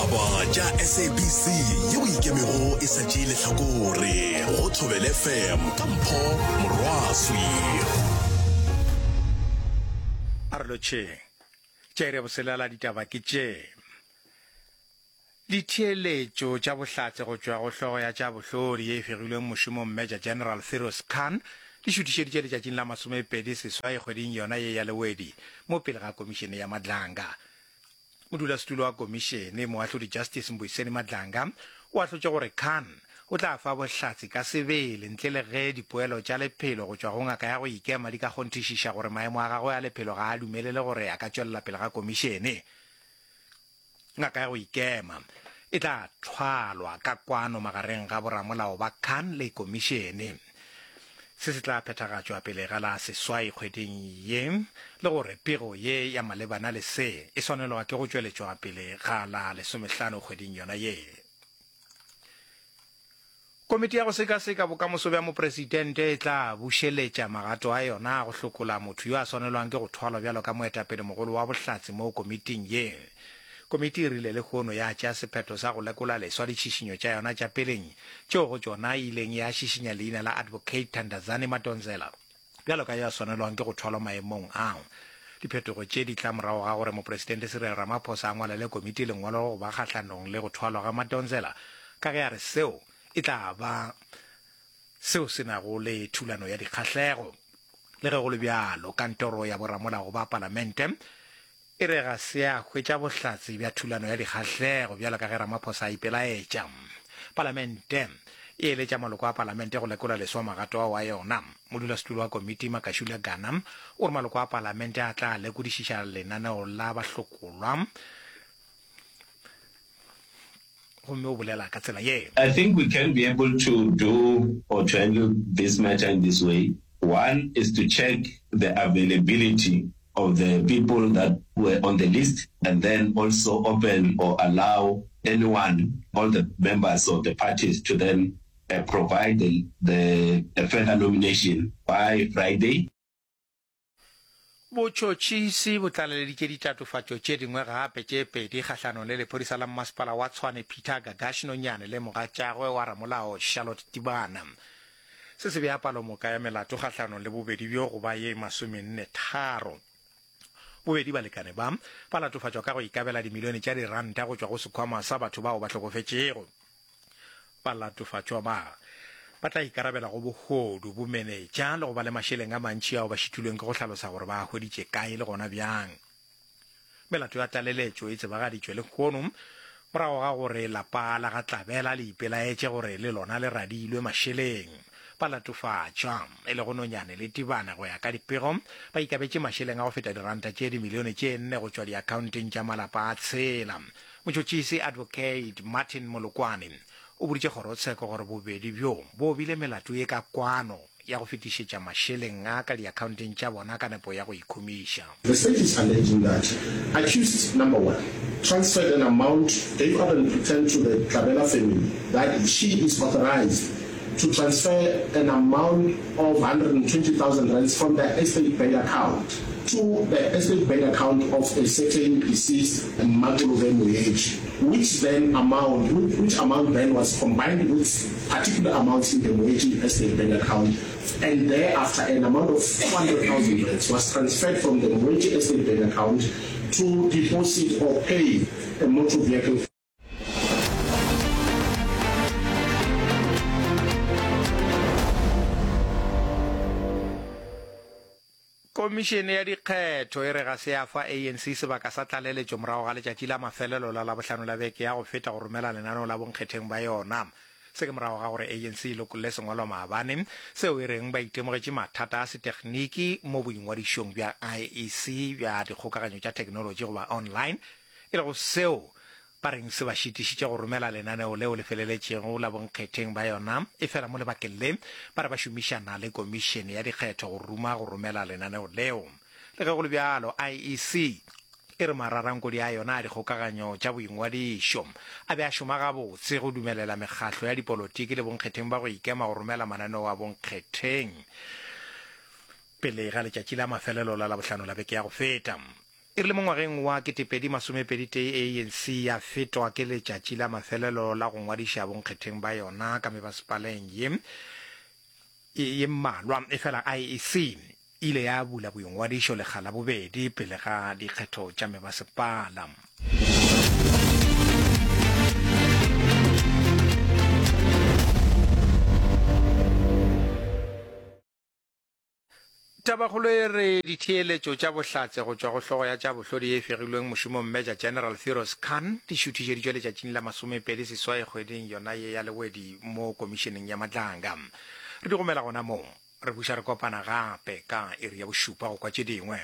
Ditaba tša SABC yeo e ikemego e sa tšee lehlakore go Thobela FM ka Mpho Morwaswi. A re lotšheng. Tša iri ya boselela ditaba ke tše. Ditheeletšo tša bohlatse go tšwa go hlogo ya tša bohlodi ye e fegilweng mošomong Major General Firoz Khan di šuthišeditše letšatšing la 28 kgweding yona ye ya Lewedi mo pele ga Komišene ya Madlanga. Modulasetulo wa komišene, Moahlodi Justice Mbuyiseni Madlanga, o ahlotše gore Khan o tla fa bohlatse ka sebele ntle le ge dipoelo tša lephelo go tšwa go ngaka ya go ikema di ka kgonthišiša gore maemo a gagwe a lephelo ga a dumelele gore a ka tšwelela pele ga komišene. Ngaka ya go ikema e tla thwalwa ka kwano magareng ga boramolao ba Khan le komišene. Se se tla phethagatšwa pele ga la seswai kgweding ye, le gore pego ye ya malebana le se e swanelwa ke go tšweletšwa pele ga la lesomehlano kgweding yona ye. Komiti ya go sekaseka bokamoso bja mopresidente e tla bušeletša magato a yona a go hlokola motho yo a swanelwang ke go thwalwa bjalo ka moetapele mogolo wa bohlatse mo komiting ye. Komiti e rile lehono ya tšea sephetho sa go lekola leswa ditšhišinyo tša yona tša peleng tšeo go tšona e ileng ya šišinya leina la Advocate Thandazani Madonsela bjalo ka yo a swanelwang ke go thwalwa maemong ao. Diphetogo tše di tla morago ga gore Mopresidente Cyril Ramaphosa a ngwalele komiti lengwalo go ba kgahlanong le go thwalwa ga Madonsela ka ge a re seo e tla ba seo se nago le thulano ya dikgahlego. Le ge go le bjalo, kantoro ya boramolao ba palamente e re ga se ya hwetša bohlatse bja thulano ya dikgahlego bjalo ka ge Ramaphosa a ipelaetša. Palamente e eletša maloko a palamente go lekola leswa magato ao a yona. Modulasetulo wa komiti Makashule Gana o re maloko a palamente a tla lekodišiša lenaneo la bahlokolwa gomme o bolela ka tsela ye. I think we can be able to do or to handle this matter in this way, one is to check the availability of the people that were on the list and then also open or allow anyone, all the members of the parties to then provide the, the further nomination by Friday. Botšhotšhisi bo tlaleleditše ditatofatšo tše dingwe gape tše pedi kgahlanong le lephodisa la mmasepala wa Tshwane Peter Gagash Nonyane le mogatšagwe wa ramolao Charlotte Tibana. Se se bea palomoka ya melato kgahlanong le bobedi bjo go ba ye masomennetharo. Bobedi balekane ba ba latofatšwa ka go ikabela dimilione tša diranta go tšwa go sekhwama sa batho bao ba hlokofetšego. Balatofatšwa ba ba tla ikarabela go bohodu, bomenetša le go ba le mašeleng a mantši ao ba šitilweng ke go hlalosa gore ba a hweditše kae le gona bjang. Melato ya tlaleletšo e tsebagaditšwe lehono morago ga gore lapa la ga Tlabela le ipelaetše gore le lona le radilwe mašeleng. Balatofatšwa, e lego Nonyane le Tibane go ya ka dipego, ba ikabetše mašeleng a go feta diranta tše dimilione tše nne go tšwa diakhaonteng tša malapa a tshela. Motšhotšhisi Advocate Martin Molokwane o boditše kgorotsheko gore bobedi bjo bo obile melato ye ka kwano ya go fetišetša mašeleng a ka diakhaonteng tša bona ka nepo ya go ikhumiša. The state is alleging that accused number one transferred an amount, gave up and pretend to the Tlabela family that she is authorized to transfer an amount of 120,000 rands from their estate bank account to the estate bank account of a certain deceased Mmakolobe Moeti, which then amount, which amount then was combined with particular amounts in the Moeti estate bank account and thereafter an amount of 400,000 rands was transferred from the Moeti estate bank account to deposit or pay a motor vehicle. Komišene ya Dikgetho e re ga se ya fa ANC sebaka sa tlaleletšo morago ga letšatši la mafelelo la Labohlano la beke ya go feta go romela lenaneo la bonkgetheng ba yona. Se ke morago ga gore ANC e lokolle sengwalwa maabane seo e reng ba itemogetše mathata a setegniki mo boingwadišong bja IEC bja dikgokaganyo tša theknolotši goba online, e lego seo ba reng se ba šitišitše go romela lenaneo leo le feleletšego la bonkgetheng ba yona, efela mo lebakeng le ba re ba šomišana le Komišene ya Dikgetho go ruma go romela lenaneo leo. Le ge go le bjalo, IEC e re mararankodi a yona a dikgokaganyo tša boingwadišo a be a šoma gabotse go dumelela mekgahlo ya dipolotiki le bonkgetheng ba go ikema go romela mananeo a bonkgetheng pele ga letšatši la mafelelo la Labohlano la beke ya go feta. E rile mo ngwageng wa 2021 ANC ya fetwa ke letšatši la mafelelo la go ngwadiša bonkgetheng ba yona ka mebasepaleng ye ye mmalwa, efela IEC e ile ya bula boingwadišo lekga la bobedi pele ga dikgetho tša mebasepala. Tabakgolo e re ditheeletšo tša bohlatse go tšwa go hlogo ya tša bohlodi ye e fegilweng mošomong Major General Firoz Khan di šuthišeditšwe letšatšing la masomepedi seswai kgweding yona ye ya Lewedi mo Komišeneng ya Matlanga. Re di gomela gona moo. Re buša re kopana gape ka iri ya bošupa go kwa tše dingwe.